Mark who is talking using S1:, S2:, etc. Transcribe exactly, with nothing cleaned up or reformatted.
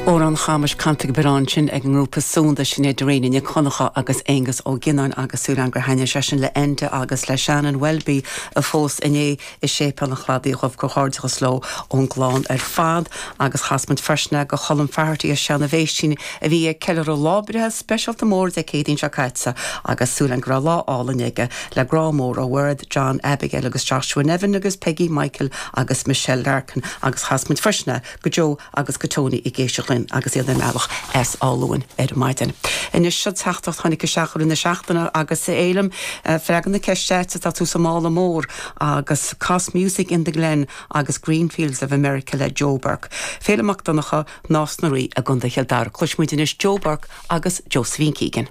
S1: Amhrán Chamais Cantaigh Beán sin ag an ngrúpa Súnda Sinéad Dirrane Nic Dhonncha agus Aengus Ó Gionnáin agus súil agam gur thaitnigh sé sin le Enda agus le Shannon Welby a phós inné i Séipéal an Chladaigh Dhuibh comhghairdeachas leo ón gclann ar fad agus chas muid freisin go Cholm Faherty as Seanadh Bhéistín a bhí ag ceiliúradh lá breithe speisialta mór Dé Céadaoin seo caite agus súil agam go raibh lá álainn aige le grá mór ó Mhairéad John Abigail agus Joshua Nevin agus Peggy Michael agus Michelle Larkin agus chas muid freisin go Joe agus go Tony i géise linn agus iad ar a mbealach as Áth Luain ar maidin. Anois seo teachtaireacht tháinig isteach na seachtaine agus élam freagra na ceiste tá tú sa mála mór agus Cos Music in the Glen agus Greenfields of America le Joe Burke. Féile Mac Donncha Nás na Rí i gContae Chill Dara. Cloisfimid anois Joe Burke agus Josephine Keegan.